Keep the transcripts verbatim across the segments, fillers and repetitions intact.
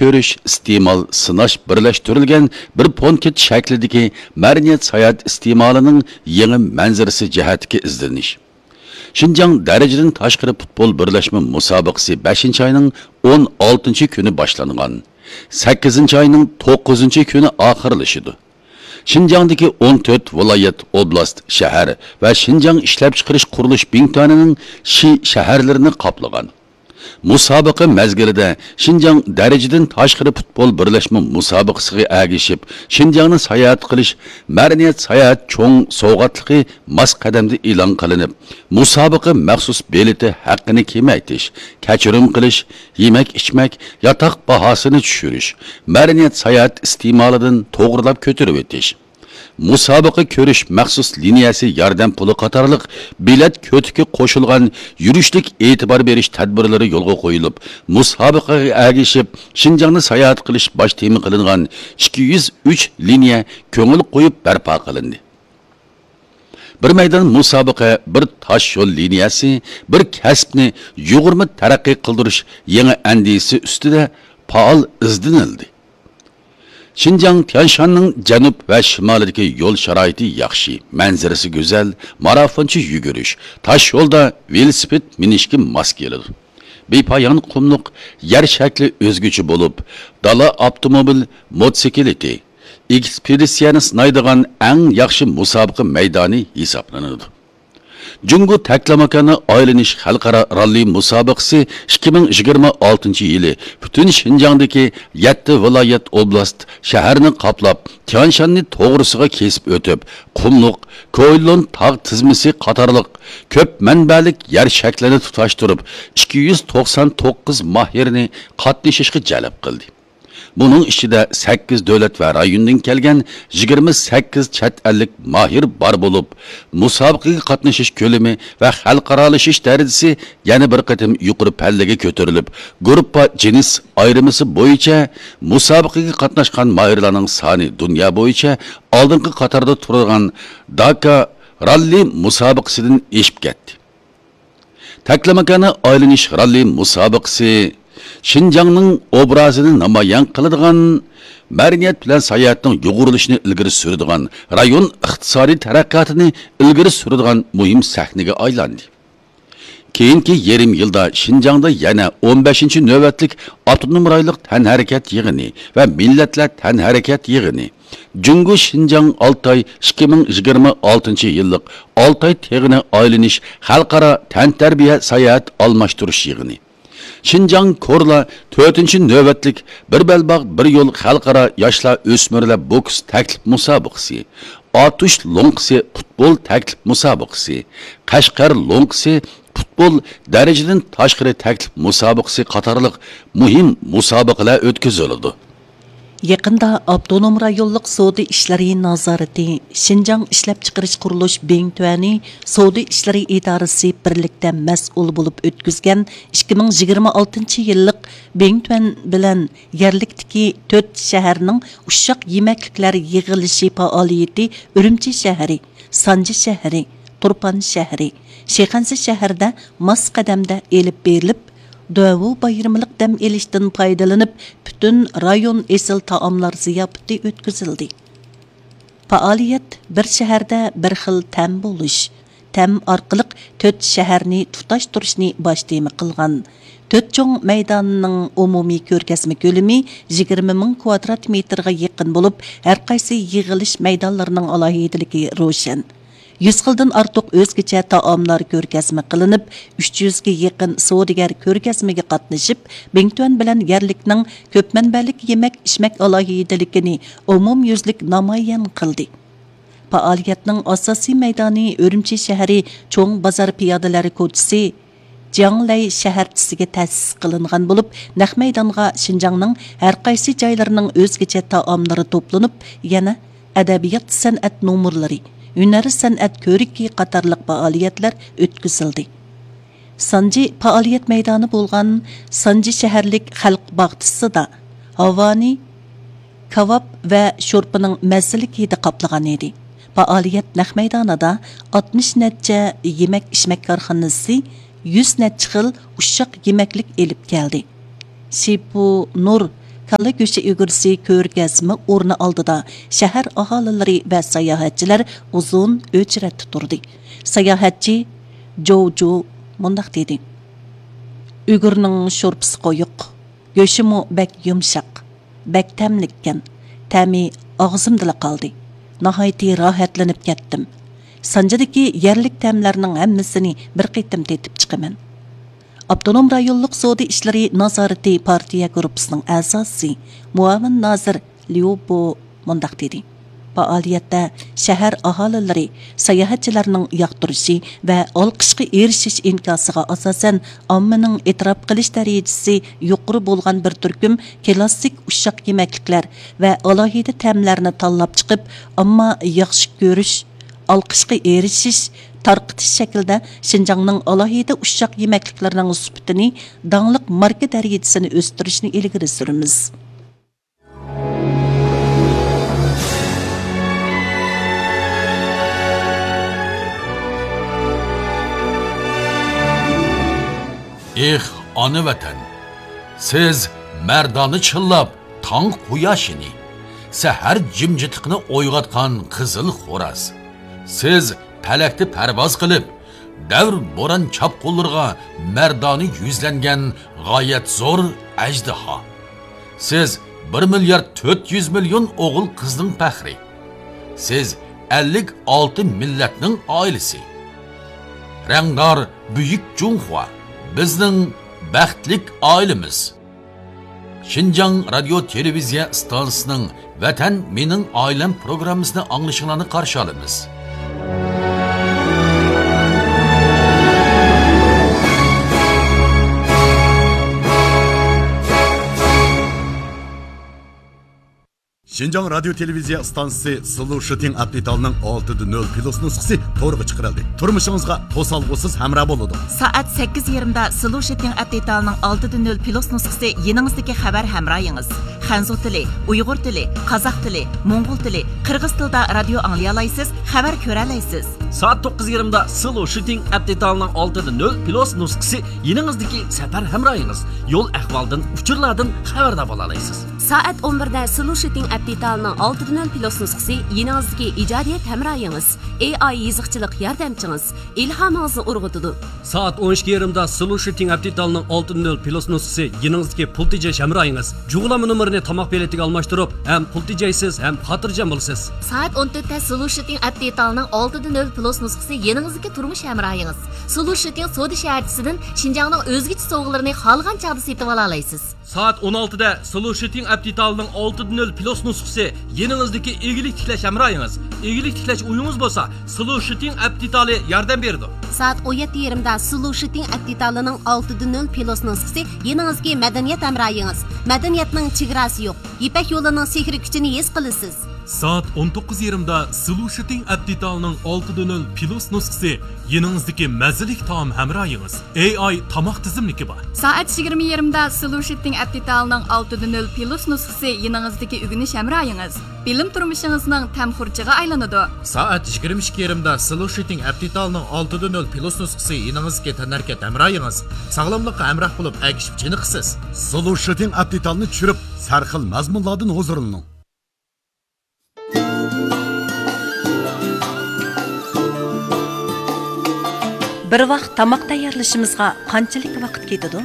كۆرۈش، ئىستېمال، سىناش بىرلەشتۈرۈلگەن بىر پونكىت شەكلىدىكى مەدەنىيەت ساياھەت ئىستېمالىنىڭ يېڭى مەنزىرىسى جەھەتتىكى ئىزدىنىش. شىنجاڭ دەرىجىدىن تاشقىرى پۇتبول بىرلەشمە مۇسابىقىسى بەشىنچى ئاينىڭ ئون ئالتىنچى كۈنى باشلانغان، سەككىزىنچى ئاينىڭ توققۇزىنچى كۈنى ئاخىرلىشىدۇ. شىنجاڭدىكى ئون تۆت ۋىلايەت، ئوبلاست، شەھەر ۋە شىنجاڭ ئىشلەپچىقىرىش قۇرۇلۇش بىڭتۈەنىنىڭ شى شەھەرلىرىنى قاپلىغان. مۇسابىقە مەزگىلىدە شىنجاڭ دەرىجىدىن تاشقىرى پۇتبول بىرلەشمە مۇسابىقىسىغا ئەگىشىپ، شىنجاڭنى ساياھەت قىلىش مەدەنىيەت ساياھەت چوڭ سوۋغاتلىقى ماس قەدەمدە ئېلان قىلىنىپ، مۇسابىقە مەخسۇس بېلىتى ھەققىنى كېمەيتىش، كەچۈرۈم قىلىش، يېمەك-ئىچمەك، ياتاق باھاسىنى چۈشۈرۈش، مەدەنىيەت ساياھەت ئىستېمالىدىن توغرىلاپ كۆتۈرۈۋېتىش، مۇسابىقە كۆرۈش مەخسۇس لىنىيەسى ياردەم پۇلى قاتارلىق بېلەت كۆتىكى قوشۇلغان يۈرۈشلۈك ئېتىبار بېرىش تەدبىرلىرى يولغا قويۇلۇپ، مۇسابىقىگە ئەگىشىپ شىنجاڭنى ساياھەت قىلىش باش تېما قىلىنغان ئىككى يۈز ئۈچ لىنىيە كۆڭۈل قويۇپ بەرپا قىلىندى. بىر مەيدان مۇسابىقە، بىر تاش يول لىنىيەسى، بىر كەسىپنى يۇغۇرما تەرەققىي قىلدۇرۇش يېڭى ئەندىزىسى ئۈستىدە پائال ئىزدىنىلدى. شىنجاڭ تيانشاننىڭ جەنۇب ۋە شىمالىدىكى يول شارائىتى ياخشى، مەنزىرىسى گۈزەل، مارافونچە يۈگۈرۈش، تاش يولدا ۋېلىسىپىت مىنىشكە ماس كېلىدۇ. بىپايان قۇملۇق يەر شەكلى ئۆزگىچە بولۇپ، دالا ئاپتوموبىل موتوسىكلىتى، ئېكسپېدىتسىيەنى سىنايدىغان ئەڭ ياخشى مۇسابىقە مەيدانى ھېسابلىنىدۇ. جۇڭگو تەكلىماكانى ئايلىنىش خەلقئارا راللى مۇسابىقىسى ئىككى مىڭ يىگىرمە ئالتىنچى يىلى پۈتۈن شىنجاڭدىكى يەتتە ۋىلايەت، ئوبلاست، شەھەرنى قاپلاپ، تيانشاننى توغرىسىغا كېسىپ ئۆتۈپ، قۇملۇق كويلون تاغ تىزمىسى قاتارلىق كۆپ مەنبەلىك يەر شەكلىنى تۇتاشتۇرۇپ، ئىككى يۈز توقسان توققۇز ماھىرنى قاتنىشىشقا جەلپ قىلدى. بۇنىڭ ئىچىدە سەككىز دۆلەت ۋە رايوندىن كەلگەن يىگىرمە سەككىز چەت ئەللىك ماھىر بار بولۇپ، مۇسابىقىگە قاتنىشىش كۆلىمى ۋە خەلقئارالىشىش دەرىجىسى يەنە بىر قېتىم يۇقىرى پەللىگە كۆتۈرۈلۈپ، گۇرۇپپا جىنس ئايرىمىسى بويىچە مۇسابىقىگە قاتناشقان ماھىرلارنىڭ سانى دۇنيا بويىچە ئالدىنقى قاتاردا تۇرىدىغان داكا راللى مۇسابىقىسىدىن ئېشىپ كەتتى. تەكلىماكانى ئايلىنىش راللى مۇسابىقىسى شىنجاڭنىڭ ئوبرازىنى نامايان قىلىدىغان، مەدەنىيەت بىلەن ساياھەتنىڭ يۇغۇرۇلۇشىنى ئىلگىرى سۈرىدىغان، رايون ئىقتىسادىي تەرەققىياتىنى ئىلگىرى سۈرىدىغان مۇھىم سەھنىگە ئايلاندى. كېيىنكى يېرىم يىلدا شىنجاڭدا يەنە ئون بەشىنچى نۆۋەتلىك ئاپتونوم رايونلۇق تەنھەرىكەت يىغىنى ۋە مىللەتلەر تەنھەرىكەت يىغىنى، جۇڭگو شىنجاڭ ئالتاي ئىككى مىڭ يىگىرمە ئالتىنچى يىللىق ئالتاي تېغىنى ئايلىنىش خەلقئارا تەنتەربىيە ساياھەت ئالماشتۇرۇش يىغىنى، شىنجاڭ كورلا تۆتىنچى نۆۋەتلىك بىر بەلباغ بىر يول خەلقئارا ياشلار ئۆسمۈرلەر بوكس تەكلىپ مۇسابىقىسى، ئاتۇش لوڭقىسى پۇتبول تەكلىپ مۇسابىقىسى، قەشقەر لوڭقىسى پۇتبول دەرىجىدىن تاشقىرى تەكلىپ مۇسابىقىسى قاتارلىق مۇھىم مۇسابىقىلەر ئۆتكۈزۈلىدۇ. يېقىندا ئاپتونوم رايونلۇق سودا ئىشلىرى نازارىتى شىنجاڭ ئىشلەپچىقىرىش قۇرۇلۇش بىڭتۈەنى سودا ئىشلىرى ئىدارىسى بىرلىكتە مەسئۇل بولۇپ ئۆتكۈزگەن ئىككى مىڭ يىگىرمە ئالتىنچى يىللىق بىڭتۈەن بىلەن يەرلىكتىكى تۆت شەھەرنىڭ ئۇششاق يېمەكلىكلەر يىغىلىشى پائالىيىتى ئۈرۈمچى شەھىرى، سانجى شەھىرى، تۇرپان شەھىرى، شىخەنزە شەھىرىدە ماس قەدەمدە ئېلىپ بېرىلىپ، دۇەۋۇ بايرىملىق دەم ئېلىشتىن پايدىلىنىپ، پۈتۈن رايون ئېسىل تائاملار زىياپىتى ئۆتكۈزۈلدى. پائالىيەت بىر شەھەردە بىر خىل تەم بولۇش، تەم ئارقىلىق تۆت شەھەرنى تۇتاشتۇرۇشنى باش تېما قىلغان. تۆت چوڭ مەيداننىڭ ئومۇمىي كۆرگەزمە كۆلىمى يىگىرمە مىڭ كۋادرات مېتىرغا يېقىن بولۇپ، ھەرقايسى يىغىلىش مەيدانلىرىنىڭ ئالاھىدىلىكى روشەن. يۈز خىلدىن ئارتۇق ئۆزگىچە تائاملار كۆرگەزمە قىلىنىپ، ئۈچ يۈزگە يېقىن سودىگەر كۆرگەزمىگە قاتنىشىپ، بىڭتۈەن بىلەن يەرلىكنىڭ كۆپ مەنبەلىك يېمەك-ئىچمەك ئالاھىدىلىكىنى ئومۇميۈزلۈك نامايان قىلدى. پائالىيەتنىڭ ئاساسىي مەيدانى ئۈرۈمچى شەھىرى چوڭ بازار پىيادىلەر كوچىسى، جياڭلەي شەھەرچىسىگە تەسىس قىلىنغان بولۇپ، نەق مەيدانغا شىنجاڭنىڭ ھەرقايسى جايلىرىنىڭ ئۆزگىچە تائاملىرى توپلىنىپ، يەنە ئەدەبىيات-سەنئەت نومۇرلىرى، ھۈنەر-سەنئەت كۆرىكى قاتارلىق پائالىيەتلەر ئۆتكۈزۈلدى. سانجى پائالىيەت مەيدانى بولغان سانجى شەھەرلىك خەلق باغچىسىدا ھاۋانى كاۋاپ ۋە شورپىنىڭ مەززىلىك ھىدى قاپلىغان ئىدى. پائالىيەت نەق مەيدانىدا ئاتمىش نەچچە يېمەك-ئىچمەك كارخانىسى يۈز نەچچە خىل ئۇششاق يېمەكلىك ئېلىپ كەلدى. شىپۇ نۇر كاللا گۆشى ئۈگرىسى كۆرگەزمە ئورنى ئالدىدا شەھەر ئاھالىلىرى ۋە ساياھەتچىلەر ئۇزۇن ئۆچرەتتە تۇردى. ساياھەتچى جوۋجۇ مۇنداق دېدى: ئۈگرىنىڭ شورپىسى قويۇق، گۆشىمۇ بەك يۇمشاق، بەك تەملىككەن، تەمى ئاغزىمدىلا قالدى. ناھايىتى راھەتلىنىپ كەتتىم. سانجىدىكى يەرلىك تەملەرنىڭ ھەممىسىنى بىر قېتىم تېتىپ چىقىمەن. ئاپتونوم رايونلۇق سودا ئىشلىرى نازارىتى پارتىيە گۇرۇپپىسىنىڭ ئەزاسى، مۇئاۋىن نازىر ليۇ بو مۇنداق دېدى: پائالىيەتتە شەھەر ئاھالىلىرى ساياھەتچىلەرنىڭ ياقتۇرۇشى ۋە ئالقىشقا ئېرىشىش ئىنكاسىغا ئاساسەن، ئاممىنىڭ ئېتىراپ قىلىش دەرىجىسى يۇقىرى بولغان بىر تۈركۈم كىلاسسىك ئۇششاق يېمەكلىكلەر ۋە ئالاھىدە تەملەرنى تاللاپ چىقىپ، ئامما ياخشى كۆرۈش، ئالقىشقا ئېرىشىش، تارقىتىش شەكلىدە شىنجاڭنىڭ ئالاھىدە ئۇششاق يېمەكلىكلىرىنىڭ سۈپىتىنى، داڭلىق ماركا دەرىجىسىنى ئۆستۈرۈشنى ئىلگىرى سۈرىمىز. ئېھ، ئانا ۋەتەن! سىز مەردانە چىللاپ تاڭ قۇياشىنى، سەھەر جىمجىتلىقىنى ئويغاتقان قىزىل خوراز. سىز پەلەكتە پەرۋاز قىلىپ، دەۋر بوران چاپقۇنلىرىغا مەردانە يۈزلەنگەن غايەت زور ئەجدىھا. سىز بىر مىليارد تۆت يۈز مىليون ئوغۇل قىزنىڭ پەخرى. سىز ئەللىك ئالتە مىللەتنىڭ ئائىلىسى. رەڭدار بۈيۈك جۇڭخۇا، بىزنىڭ بەختلىك ئائىلىمىز. شىنجاڭ رادىيو تېلېۋىزىيە ئىستانسىسىنىڭ ۋەتەن مېنىڭ ئائىلەم پروگراممىسىنى ئاڭلىشىڭلارنى قارشى ئالىمىز. شىنجاڭ رادىيو تېلېۋىزىيە ئىستانسىسى سلۇشىتىڭ ئەپ دېتالىنىڭ ئالتىدە نۆل پلۇس نۇسخىسى تورغا چىقىرىلدى. تۇرمۇشىڭىزغا توسالغۇسىز ھەمراھ بولىدۇ. سائەت سەككىز يېرىمدا سلۇشىتىڭ ئەپ دېتالىنىڭ ئالتىدە نۆل پلۇس نۇسخىسى يېنىڭىزدىكى خەۋەر ھەمراھىڭىز. خەنزۇ تىلى، ئۇيغۇر تىلى، قازاق تىلى، موڭغۇل تىلى، قىرغىز تىلىدا رادىيو ئاڭلىيالايسىز، خەۋەر كۆرەلەيسىز. سائەت توققۇز يېرىمدا سلۇشىتىڭ ئەپ دېتالىنىڭ ئالتىدە نۆل پلۇس نۇسخىسى يېنىڭىزدىكى سەپەر ھەمراھىڭىز. يول ئەھۋالدىن، ئۇچۇرلاردىن خەۋەردار بولالايسىز. سائەت ئون بىردە سلۇشىتىڭ ئەپ دېتالىنىڭ ئالتىدە نۆل پلۇس نۇسخىسى يېنىڭىزدىكى ئىجادىيەت ھەمراھىڭىز، ئېي ئاي يېزىقچىلىق ياردەمچىڭىز، ئىلھامىڭىزنى ئۇرغۇتىدۇ. سائەت ئون ئىككى يېرىمدا سلۇشىتىڭ ئەپ دېتالىنىڭ ئالتىدە نۆل پلۇس نۇسخىسى يېنىڭىزدىكى پۇل تېجەش ھەمراھىڭىز. جۇغلانما نومۇرىنى تاماق بېلىتىگە ئالماشتۇرۇپ، ھەم پۇل تېجەيسىز، ھەم خاتىرجەم بولىسىز. سائەت ئون تۆتتە سلۇشىتىڭ ئەپ دېتالىنىڭ ئالتىدە نۆل پلۇس نۇسخىسى يېنىڭىزدىكى تۇرمۇش ھەمراھىڭىز. سلۇشىتىڭ سودا شەھەرچىسىدىن شىنجاڭنىڭ ئۆزگىچە سوۋغىلىرىنى خالىغان چاغدا سېتىۋالالايسىز. سائەت ئون ئالتىدە سلۇشىتىڭ ئەپ دېتالىنىڭ ئالتىدە نۆل پلۇس نۇسخىسى يېنىڭىزدىكى ئىگىلىك تىكلەش ھەمراھىڭىز. ئىگىلىك تىكلەش ئويىڭىز بولسا، سلۇشىتىڭ ئەپ دېتالى ياردەم بېرىدۇ. سائەت ئون يەتتە يېرىمدا سلۇشىتىڭ ئەپ دېتالىنىڭ ئالتىدە نۆل پلۇس نۇسخىسى يېنىڭىزدىكى مەدەنىيەت ھەمراھىڭىز. مەدەنىيەتنىڭ چېگراسى يوق. يىپەك يولىنىڭ سېھرىي كۈچىنى ھېس قىلىسىز. سائەت ئون توققۇز يېرىمدا سلۇشىتىڭ ئەپ دېتالىنىڭ ئالتىدە نۆل پلۇس نۇسخىسى يېنىڭىزدىكى مەززىلىك تائام ھەمراھىڭىز. ئېي ئاي تاماق تىزىملىكى بار. سائەت يىگىرمە يېرىمدا سلۇشىتىڭ ئەپ دېتالىنىڭ ئالتىدە نۆل پلۇس نۇسخىسى يېنىڭىزدىكى ئۆگىنىش ھەمراھىڭىز. بىلىم تۇرمۇشىڭىزنىڭ تەم خۇرجىنى ئايلىنىدۇ. سائەت يىگىرمە ئىككى يېرىمدا سلۇشىتىڭ ئەپ دېتالىنىڭ ئالتىدە نۆل پلۇس نۇسخىسى يېنىڭىزدىكى تەنھەرىكەت ھەمراھىڭىز. ساغلاملىققا ھەمراھ بولۇپ، ئەگىشىپ چېنىقىسىز. سلۇشىتىڭ ئەپ دېتالىنى چۈشۈرۈپ، سەرخىل مەزمۇنلاردىن ھۇزۇرلىنىڭ. بىر ۋاق تاماق تەييارلىشىمىزغا قانچىلىك ۋاقىت كېتىدۇ؟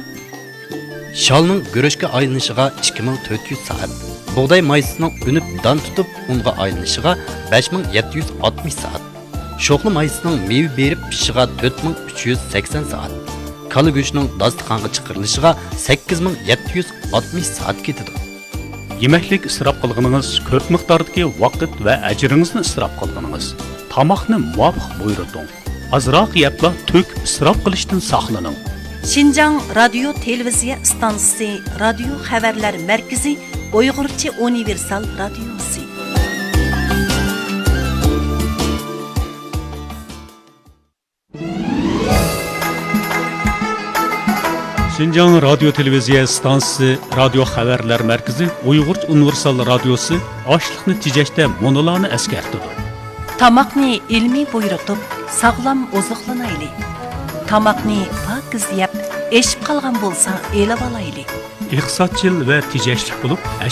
شالنىڭ گۈرۈچكە ئايلىنىشىغا ئىككى مىڭ تۆت يۈز سائەت، بۇغداي مايسىسىنىڭ ئۈنۈپ دان تۇتۇپ ئۇنغا ئايلىنىشىغا بەش مىڭ يەتتە يۈز ئاتمىش سائەت، شوخلا مايسىسىنىڭ مېۋە بېرىپ پىشىشىغا تۆت مىڭ ئۈچ يۈز سەكسەن سائەت، كالا گۆشىنىڭ داستىخانغا چىقىرىلىشىغا سەككىز مىڭ يەتتە يۈز ئاتمىش سائەت كېتىدۇ. يېمەكلىك ئىسراپ قىلغىنىڭىز، كۆپ مىقداردىكى ۋاقىت ۋە ئەجرىڭىزنى ئىسراپ قىلغىنىڭىز. تاماقنى مۇۋاپىق بۇيرۇتۇڭ. ئازراق يەپلا تۆك ئىسراپ قىلىشتىن ساقلىنىڭ. شىنجاڭ رادىيو تېلېۋىزىيە ئىستانسىسى رادىيو خەۋەرلەر مەركىزى ئۇيغۇرچە ئۇنىۋېرسال رادىيوسى. شىنجاڭ رادىيو تېلېۋىزىيە ئىستانسىسى رادىيو خەۋەرلەر مەركىزى ئۇيغۇرچە ئۇنىۋېرسال رادىيوسى ئاشلىقنى تېجەشتە مۇنۇلارنى ئەسكەرتىدۇ. تاماقنى ئىلمىي بۇيرۇتۇپ، ساغلام ئوزۇقلىنايلى. تاماقنى پاكىز يەپ، ئېشىپ قالغان بولسا ئېلىۋالايلى. ئىقتىسادچىل ۋە تېجەشلىك بولۇپ،